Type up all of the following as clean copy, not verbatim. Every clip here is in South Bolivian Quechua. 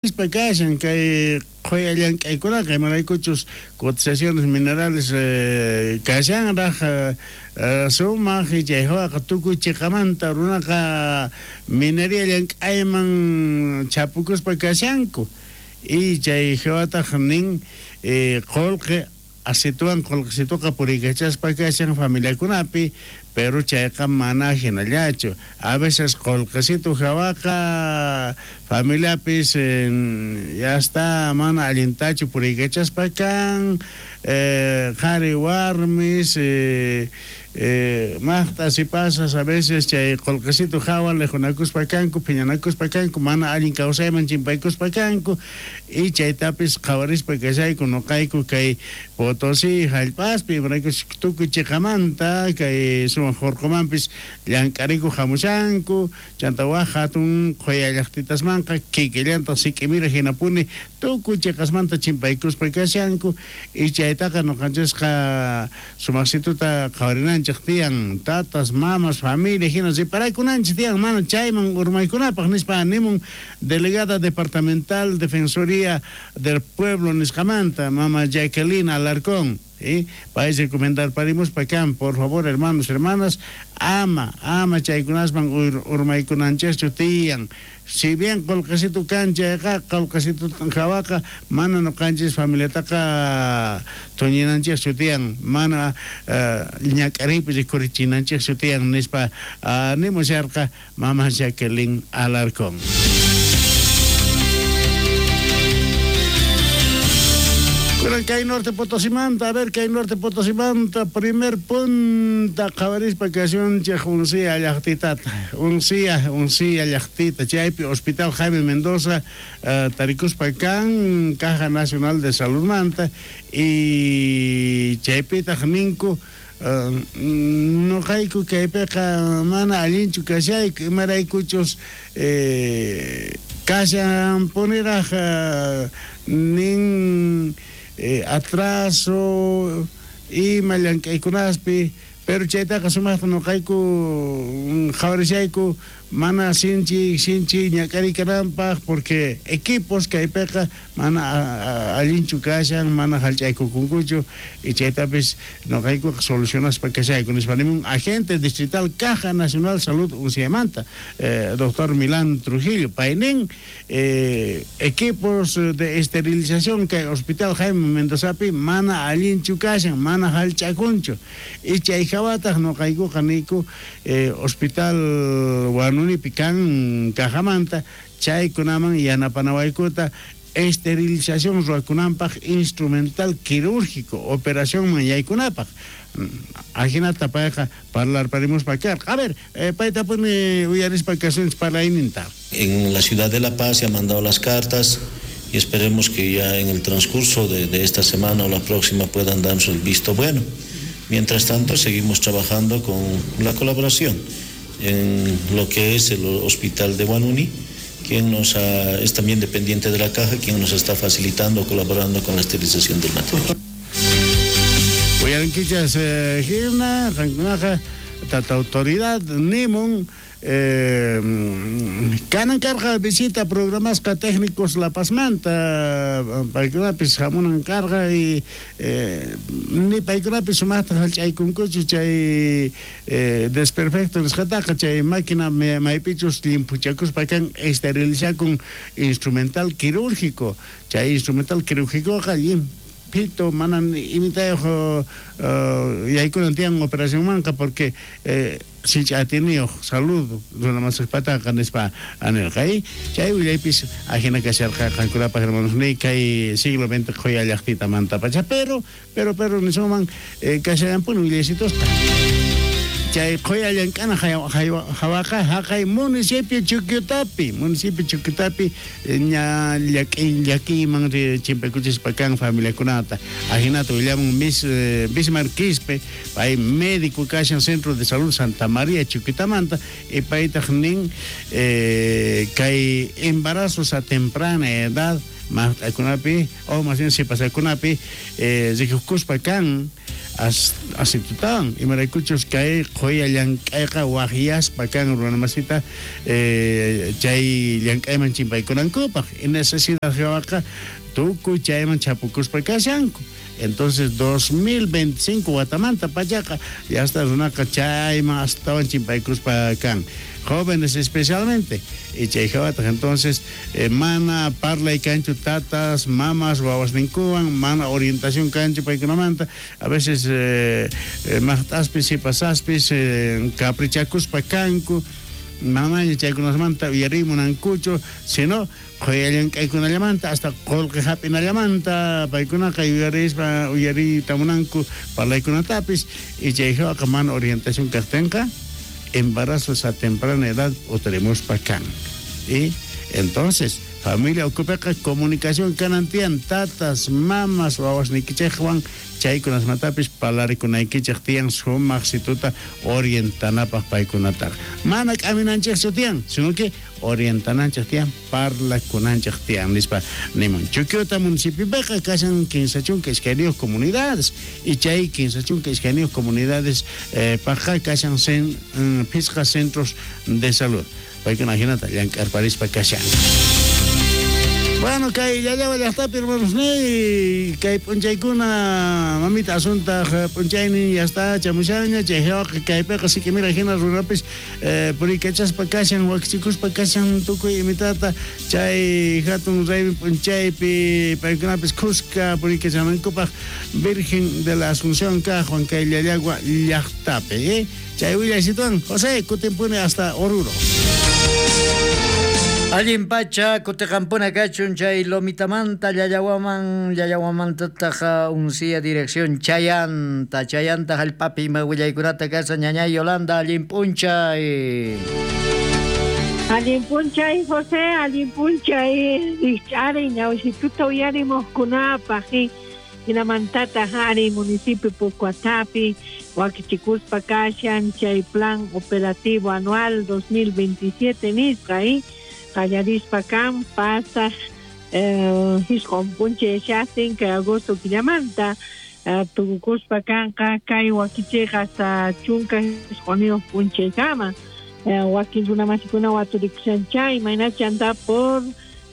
Nispa kashan kay qhoya llank'aykunaqa, imaraykuchus cotizaciones minerales kashanraj sumaj chay jawaqa tukuy cheqamanta runaqa minería llank'ayman chhapukuspa kashanku y chay jawataj nin qolqe Asituwan qolqesituqa puriykachaspa kashan familiakunapi, pero chayqa mana jinallachu. A veces qolqesitu jawaqa familiapis ya está mana allintachu puriykachaspa kan, qhari warmis, Maqt'a sipasas a veces chay qolqesitu jawa lejunakuspa kanku, phiñanakuspa kanku, mana allin kawsayman chimpaykuspa kanku, y chaytapis qhawarispa kashayku noqayku kay Potosí jallp'aspi, imaraykuchus tukuy cheqamanta kay sumaq orqomanpis llank'arikuq jamushanku, chanta waj jatun qhoya llaqtitasmanqa kikillantaq sik'imira jinapuni tukuy cheqasmanta chimpaykuspa kashanku, y chaytaqa noqanchisqa Sumajsituta qhawarinanchej tiyan, tatas, mamas, familia jina reparakunanchej tiyan mana chayman urmaykunapaj, nispa nimun delegada departamental Defensoría del Pueblo nisqamanta, mama Jacqueline Alarcón. Pay recomendarparimuspa kan, por favor, hermanos, hermanas, ama, ama chaykunasman urmaykunanchejchu tiyan. Si bien qolqesitu kan chayqa, qolqesitu jawaqa mana noqanchis familiataqa thuñinanchejchu tiyan, mana ñak'ariypi rikhurichinanchejchu tiyan, nispa nimusharqa mama Jacqueline Alarcón. Kunan kay Norte Potosimanta, a ver kay Norte Potosimanta primer punta qhawarispa kashunchej Uncía llajtitata. Uncía, Uncía llajtita, chaypi Hospital Jaime Mendoza tarikuspa kan Caja Nacional de Saludmanta y chaypitaj ninku noqayku kaypeqa mana allinchu kashayku, imaraykuchus kashanpuniraj nin atraso ima llank'aykunaspi. Pero chaytaqa sumajta noqayku qhawarishayku mana sinchi sinchi ñak'ariy kananpaj, porque equipos kaypeqa mana allinchu kashan, mana jallch'aykukunkuchu, y chaytapis noqaykuqa solucionaspa kashayku, nispa nimun agente distrital Caja Nacional Salud Unciamanta, doctor Milán Trujillo, pay nin equipos de esterilización kay Hospital Jaime Mendozapi mana allinchu kashan, mana jallch'akunchu. Y chay jawataj noqaykuqa niyku hospital Huanunipi kan cajamanta chaykunaman yanapanawaykuta esterilización ruwakunanpaj instrumental quirúrgico operacionman yaykunapaj. Ajinata payqa parlarparimuspa karqa. A ver, paytapuni uyarispa kasunchis parlayninta. En la ciudad de La Paz se han mandado las cartas y esperemos que ya en el transcurso de, de esta semana o la próxima puedan darnos el visto bueno. Mientras tanto, seguimos trabajando con la colaboración en lo que es el Hospital de Huanuni, quien nos ha, es también dependiente de la caja, quien nos está facilitando, colaborando con la esterilización del material. Uyarinkichas jina, qankunaqa tata autoridad nimun Kanan karqa visita programasqa técnicos La Pazmanta, paykunapis jamunan karqa y ni paykunapis sumajta jallch'aykunkuchu chay desperfecto nisqataqa, chay máquina maypichus llimphuchakuspa kan esterilizakun instrumental quirúrgico, chay instrumental quirúrgicoqa llimphito mana imitayoj yaykunan tiyan operacionmanqa porque Sinch'i atiyniyoj salud runa masejpataqa, nispa nerqa. Chay willaypis ajina kasharqa qankunapaj, hermanosniy, kay siglo XX qhoya llajtitamantapacha. Pero, pero, pero nisunman kashallanpuni willaysitosqa. Chay qhoya llank'ana jawaqa jaqay municipio Chukyutapi, municipio Chukyutapi ña llakiyman chimpaykuchispa kan familiakunata. Ajinata willamun Miss Bismarck Quispe, pay médico kashan Centro de Salud Santa María Chuquitamanta, y paytaj nin kay embarazos a temprana edad maqt'akunapi o más bien sipasakunapi rikukuspa kan. Asitutawan imaraykuchus kay qhoya llank'ayqa wajyaspa kan runamasita chay llank'ayman chimpaykunankupaq y necesidad hawaqa tukuy chayman chapukuspa kashanku. Entonces 2025 watamanta pachaqa yasta runaqa chayman astawan chimpaykuspa kan, jóvenes especialmente. Y chay hawataq entonces mana parlay kanchu tatas, mamas, wawasninkuwan, mana orientación kanchu paykunamanta. A veces maqt'aspis, sipasaspis caprichakuspa kanku, mamaña chaykunasmanta uyariy munankuchu, sino qhoya llank'aykunallamanta hasta qolqe hap'inallamanta paykunaqa yuyarispa uyariyta munanku parlaykunatapis. Y chay hawaqa mana orientación kaqtinqa embarazos a temprana edad utarimuspa kan. Y entonces familia ukhupiqa comunicación kanan tiyan, tatas, mamas, wawasniykichikwan chaykunasmatapis parlarikunaykichik tiyan sumaq situta orientanapaq paykunataqa. Mana k'aminanchikchu tiyan, sino que orientananchik tiyan, parlakunanchik tiyan nispa nimun. Chuquiota municipiopiqa kashan 32 comunidades y chay 32 comunidades paqqa kashan phisqa centros de salud. Paykuna hinata llank'arparispa kashan. Bueno, kay Llallagua llaqtapi hermanos ni kay p'unchaykuna mamita Asuntaq p'unchaynin ya está chamushaña, chay hawaqa kaypiqa sikimira hina runapis puriykachaspa kashan, wakichikuspa kashan tukuy imitata chay hatun raymi p'unchaypi paykunapis khuska puriykachanankupaq Virgen de la Asunción kaqwan kay Llallagua llaqtapi. Chay willaysituwan José kutimpuni hasta Oruro. Allin pacha kutiqampuna kachun chay Lomitamanta Llallawaman, Llallawamantataq unsía dirección Chayanta, Chayanta hallp'api ima willaykunata kashan ñañay Yolanda, allin p'unchay. Allin p'unchay José, allin p'unchay rikch'ari ñawsituta uyarimuqkunapaq, hinamantataq ari municipio Pocoatapi wakichikuspa kashan chay plan operativo anual 2027 nisqa, qallarispa kan pasaq hisq'un p'unchay shaqtin kay agosto killamanta tukukuspa kanqa kay wakichiyqa hasta chunka hisq'uniyuq p'unchaykama. Wakin runamasikuna waturikushan chay imaynachanta por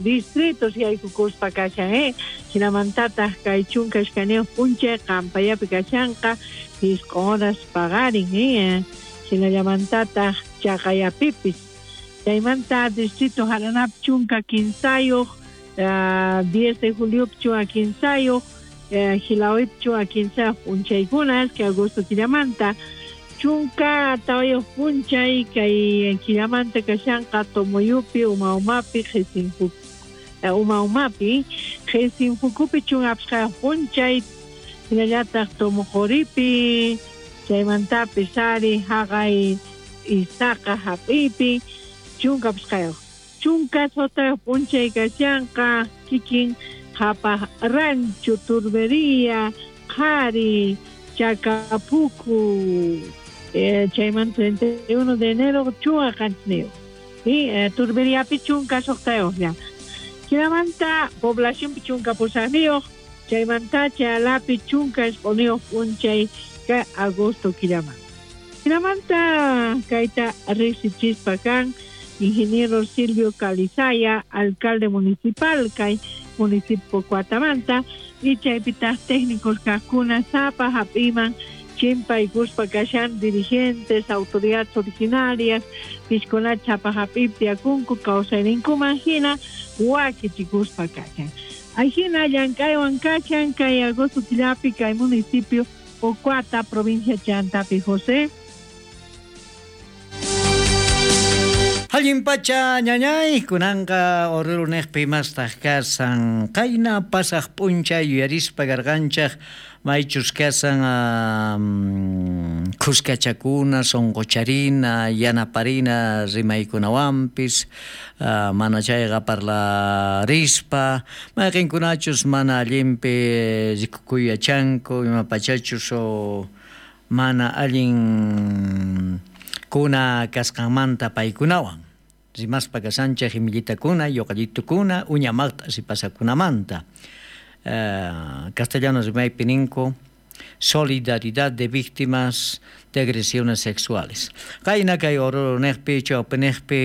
distritos yaykukuspa kashan, hinamantataq kay chunka iskayniyuq p'unchay qampayapi kashanqa hisq'un horas paqarin, hinallamantataq chaqayapipis. Chaymanta distrito Jaranap chunka kinsayuq, 10 de julio chunka kinsayuq, Gilawip chunka kinsayuq p'unchaykunas kay agosto killamanta, chunka tawayuq p'unchay kay killamanta kashanqa Tomoyupi, Uma Umapi, Uma Umapi, Qhisinfukupi chunka apsqayuq p'unchay, hinallataq Tomoqoripi, chaymantapis ari haqay Isaqa hap'ipi chunka apsqayuq. Chunka sotayuq p'unchay kashanqa kikin Qhapaq Rancho, Turbería, Qhari, Chacapucu, chaymanta 31 de enero chunka qanchisniyuq. Y Turberiapi chunka suqtayuqlla. Hinamanta poblacionpi chunka pusaqniyuq, chaymanta Chalapi chunka isq'uniyuq p'unchay kay agosto killaman. Hinamanta kayta riqsichispa kan ingeniero Silvio Calizaya, alcalde municipal kay municipio Cuatamanta, y chaypitaq técnicos kaqkuna sapa hap'iman chimpaykuspa kashan dirigentes, autoridades originarias, pishkuna chapa hap'ip tiyakunku kawsayninkuman hina wakichikuspa kashan. Ahina llank'aywan kashan kay agosto killapi kay municipio Pocoata, provincia Chantapi, José. Allin pacha ñañay kunanqa Oruro niqpi mastaq kasan qayna pasaq p'unchay yuyarispa karqanchaq maychus kasan khuskachakuna, sunqucharina, yanaparina rimaykunawanpis, mana chayqa parlarispa, mayqinkunachus mana allinpi rikukuy yachanku, imapachachus mana allin kuna kasqanmanta paykunawan rimaspa kashanchik imillitakuna, yoqallitukuna, uña maqta sipasakunamanta. Castellano rimaypi ninku Solidaridad de Víctimas de Agresiones Sexuales. Qayna kay Oruro-niqpi, chawpiniqpi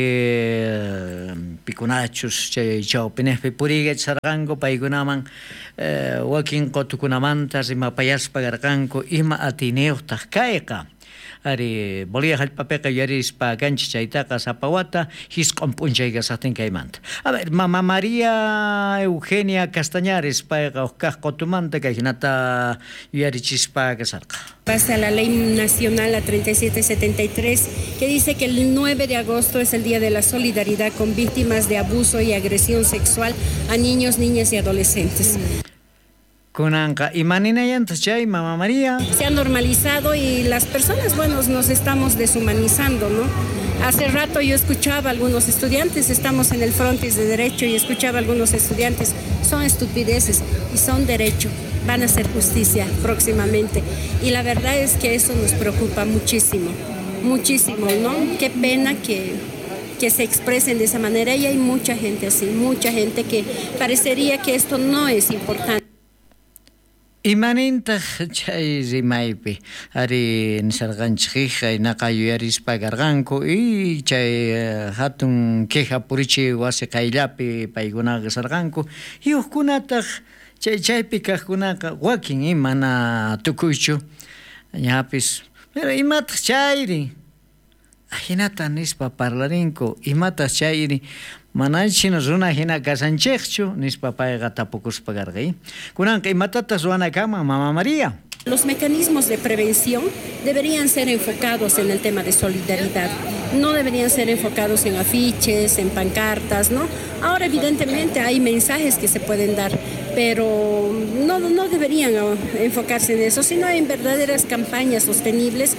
pikunachus chay chawpiniqpi puriykachisarqanku paykunaman wakin qutukunamanta rimapayaspa karqanku ima atiyniyuqtaq kayqa. Ari Bolivia hallp'apiqa yuyarispa kanchis chaytaqa sapa wata 9 p'unchay kasaqtin kaymanta. A ver, Mama María Eugenia Castañares payqa huk kaq qutumanta kay hinata yuyarichispa kasarqa. Pasa la Ley Nacional la 3773, que dice que el 9 de agosto es el Día de la Solidaridad con Víctimas de Abuso y Agresión Sexual a niños, niñas y adolescentes. Kunanqa imaninayantaq chay, Mama María? Se ha normalizado y las personas, bueno, nos estamos deshumanizando, ¿no? Hace rato yo escuchaba a algunos estudiantes, estamos en el frontis de Derecho y escuchaba a algunos estudiantes, son estupideces y son derecho, van a hacer justicia próximamente. Y la verdad es que eso nos preocupa muchísimo, muchísimo, ¿no? Qué pena que se expresen de esa manera y hay mucha gente así, mucha gente que parecería que esto no es importante. Imanintaq chay rimaypi ari nisarqanchik naqa yuyarispa karqanku y chay hatun queja purichi wasi qayllapi paykunaqa kasarqanku y hukkunataq chay chaypi kaqkunaqa wakin mana tukuychu ñapis pero imataq chayri ajinata nispa parlarinku imataq chayri manachina runa hina kasanchikchu nispa payqa tapukuspa karqa. Kunanqa imatataq ruwana kanman, Mama María? Los mecanismos de prevención deberían ser enfocados en el tema de solidaridad, no deberían ser enfocados en afiches, en pancartas, ¿no? Ahora evidentemente hay mensajes que se pueden dar, pero no deberían enfocarse en eso, sino en verdaderas campañas sostenibles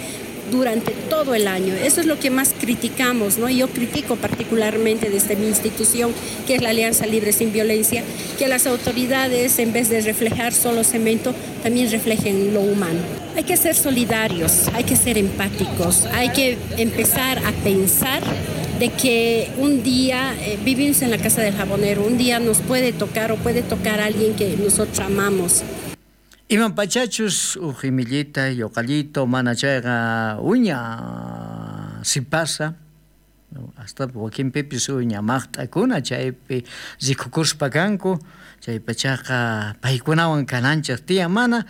durante todo el año. Eso es lo que más criticamos, ¿no? Yo critico particularmente desde mi institución, que es la Alianza Libre Sin Violencia, que las autoridades, en vez de reflejar solo cemento, también reflejen lo humano. Hay que ser solidarios, hay que ser empáticos, hay que empezar a pensar de que un día vivimos en la casa del jabonero, un día nos puede tocar o puede tocar a alguien que nosotros amamos. Iman pachachus uj imillita yoqallito mana chayqa uña si pasa hasta wakinpipis uña maqt'akuna chaypi rikukuspa kanku chay pachaqa paykunawan kananchik tiyan mana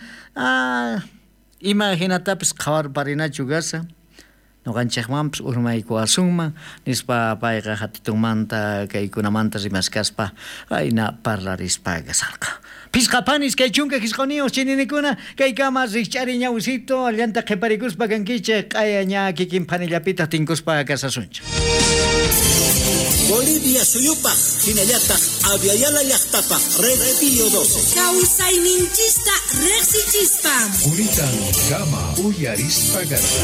ima hinatapis qhawarparinachu kasa noqanchikmanpis urmaykuwasunman nispa payqa hatitunmanta kaykunamanta rimaskaspa ayna parlarispa kasarqa. Pisqa panis kay chunka qisquniyuq chininikuna kaykama rikch'ari ñawisito allanta qhiparikuspa kankichik q'aya ña kikin phanillapitaq tinkuspa kasasunchik. Bolivia suyupaq hinallataq Aviala llaqtapaq Red Pío 12. Kawsayninchista riqsichispa. Quritan kama uyarispa karqa.